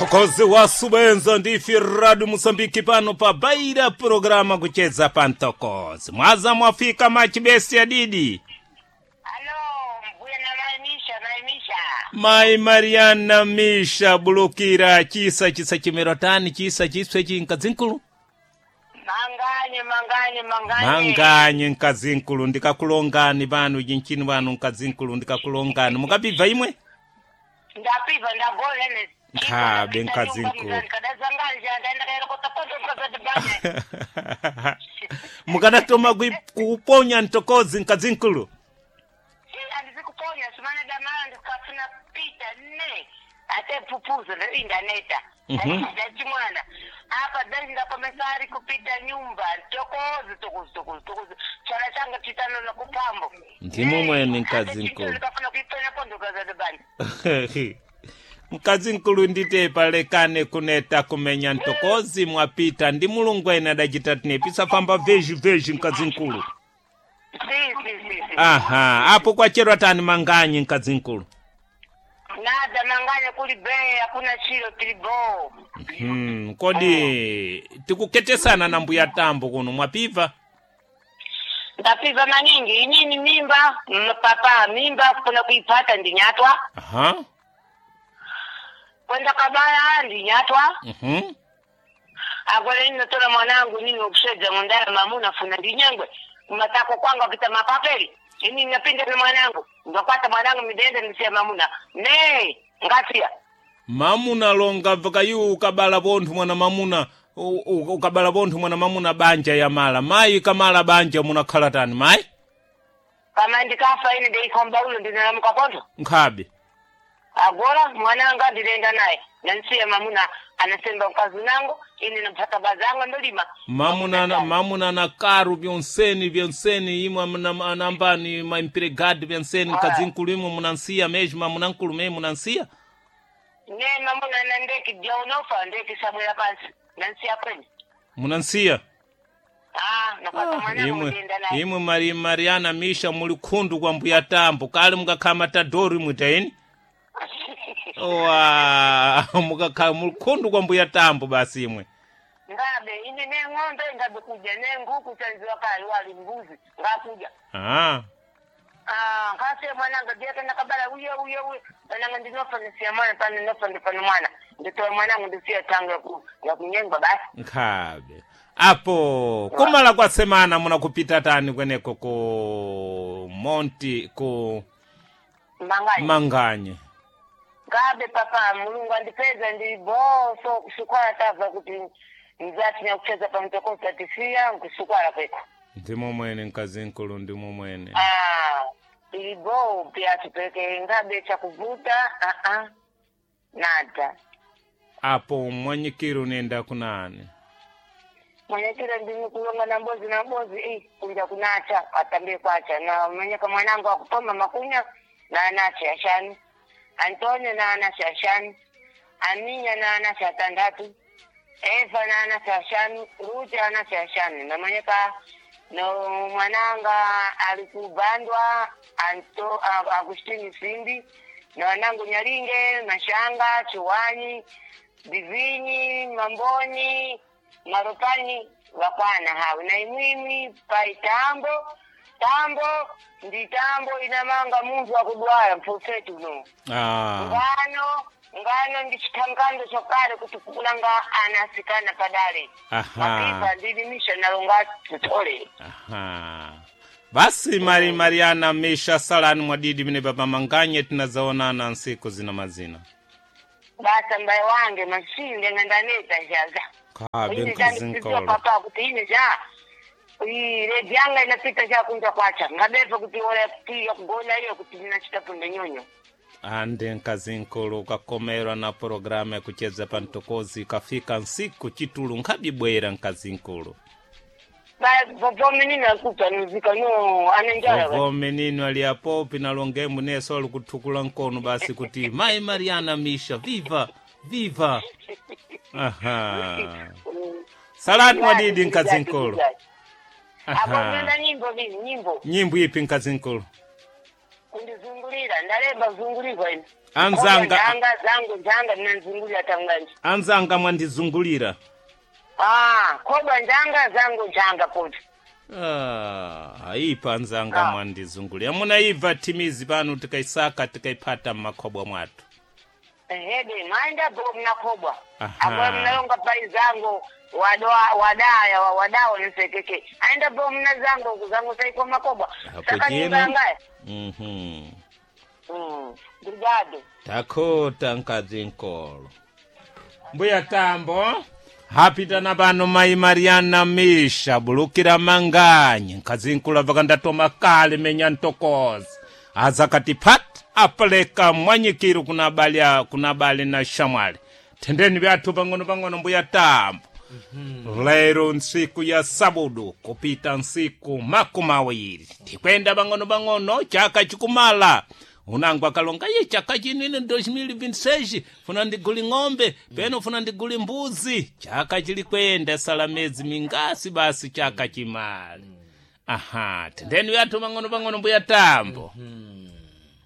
Mtokozi wa subenza ndifi radu Mosambiki pano pa baira programa kucheza pa mtokozi. Mwaza mwafika machibesi ya didi. Alo, mbuya na maimisha maimisha. Mai Mariana Misha bulukira chisa chisa chimerotani chisa chiswe chinkazinkulu. Manganye manganye manganye. Manganye nkazinkulu ndikakulongani pano chinchini pano nkazinkulu ndikakulongani mukapibva imwe? Ndapiva ndagole ne. Nkhabe nkazinkulu. Kadazanganja ndaenda kaera kotakoto kazadibane. Mukadatoma kuponya mtokozi nkazinkulu. Andizikuponya simana damana ndikafuna pita ne. Ate pupuzo ndo indaneta. Ndachimwana. Apa dai ndakomesari kupita nyumba tokozi tokozi tokozi tokozi. Chala changa chitano na kupambo. Ndimo mwene nkazinkulu. Ndikafuna kuipenya pondo kazadibane. Mkazi nkulu ndite palekane kuneta kumenya ntokozi mwapita ndi mulungu ene adachita tinepisa famba vezhi vezhi mkazi nkulu. Si si si si. Aha, apo kwacherwa tani manganyi mkazi nkulu. Nada manganya kuli bei hakuna chilo tilibo. Kodi tikuketesana na mbuya tambo kuno mwapiva? Ndapiva maningi inini mimba papa mimba kuna kuipata ndinyatwa Aha. kwenda kabaya ndinyatwa Mhm. akwele nini natola mwanangu nini wakushedza ngondala mamuna funa ndinyengwe matako kwangu akita mapapeli ini napinda na mwanangu ngakwata mwanangu midende ndisiya mamuna ne ngasiya Mamuna longa vakayu ukabala bonthu mwana mamuna ukabala bonthu mwana mamuna banja ya mala mayi kamala banja munakhala tani mayi kama ndikafa ine ndeikomba ulo ndinalamuka pontho nkhabe agora mwananga ndilenda naye nansiya mamuna anasemba mkazi nangu ine napata bazanga ndolima mamuna na, mamuna na karu byonseni byonseni imwe anambani maimpiregadi byonseni kazinkulu imwe munansiya mezhi mamuna nkulu me munansiya ne mamuna na ndeki dya unofa ndeki sabwera pansi nansiya kwenye munansiya ah napata mwanangu imwe ndilenda naye imwe mari mariana misha muli khundu kwa mbuya tambo kale mukakhala matadori mwitaini owa mukakhala muli khundu kwa mbuya tambo basi imwe ngabe ine ne ng'ombe ngabe kuja ne nguku chanziwa kali wali mbuzi ngakuja ah ah ngasiya mwananga dyaka nakabala uye uye uye pananga ndinofa ndisiya mwana pano nofa ndipano mwana nditoa mwanangu ndisiya tango ya kunyengwa basi nkhabe apo kumala kwa semana munakupita tani kweneko ku monti ku manganya manganye ngabe papa mulungu andipeza ndi boso kusukwala tava kuti mzati nyakucheza pamtokoza tisiya nkusukwala kweko ndimo mwene mkazinkulu ndimo mwene ah ili bo pia tupeke ngabe chakuvuta ah ah nada apo mwanyikiro nenda kunani mwenyekera ndini kulonga na mbozi na mbozi i kunja kunacha atambie kwacha na mwenyeka mwanangu akupoma makunya na anacha ashani antonio na anacha ashani aminya na anacha atandatu eva na anacha ashani ruta anacha ashani na mwenyeka no mwananga alikubandwa anto agustini simbi na wanangu nyaringe mashanga chuwani divinyi mamboni maropani wakwana hawe na imwimwi pai tambo tambo ndi tambo inamanga munthu akudwala mfofeti uno ah ngano ngano ndi chithangando chakale kuti kulanga ana asikana padale aha mapipa ndilimisha nalonga tutole aha basi mari mariana misha salani mwadidi mine papa manganye tinazaonana nsiku zina mazina basa mbaye wange masinde ng'andaneta njaza khabe ine chandikudziwa mkazinkulu papa kuti ine ja redi yanga inapita chakunja kwacha ngabeva kuti ola kuti yakugona iyo kuti ndinachita punde nyonyo ande mkazinkulu ukakomerwa na programu ya kucheza pa mtokozi ikafika nsiku chitulu nkhabibwera mkazinkulu vomenini akupanuzika no anenjala ovo menino ali apo pinalongemu neso ali kuthukula mkono basi kuti mai mariana misha viva viva aha salani mwadidi mkazinkulu apo aha nenda nyimbo vizi nyimbo nyimbo ipi mkazinkulu Kundizungulira ndalemba zungulirwa ine. Anzanga- Njanga zangu njanga ndinanzungulira tanganje. Anzanga mwandizungulira. Ah, kobwa njanga zangu njanga kuti. Ah, aipa anzanga mwandizungulira. Munaibva timizi pano tikaisaka tikaipata mmakhobwa mwathu. Ehede maenda bo mnakobwa. Aha. Apo mnalonga pai zangu wadoa wadaya wa wadao nisekeke. Aenda bo mna zangu zangu saiko makobwa. Hapo Saka jeno. nyumba. Obrigado. Takota nkadzi nkolo. Mbuya Tambo hapitana pano mayi Mariana Misha bulukira manganyi nkadzi nkulu vakandatoma kale menya ntokoza azakati pat apeleka mwanyikiru kuna bali kuna bali na shamwali tendeni vyathu pang'ono pang'ono mbuya Tambo. Lero ntsiku ya sabudu kupita ntsiku 20 tikwenda pang'ono pang'ono chaka chikumala unangu akalonga ye chaka chinene 2026 funa ndiguli ng'ombe peno funa ndiguli mbuzi chaka chili kwenda sala mezi mingasi basi chaka chimali. Aha, tendeni vyathu pang'ono pang'ono mbuya Tambo.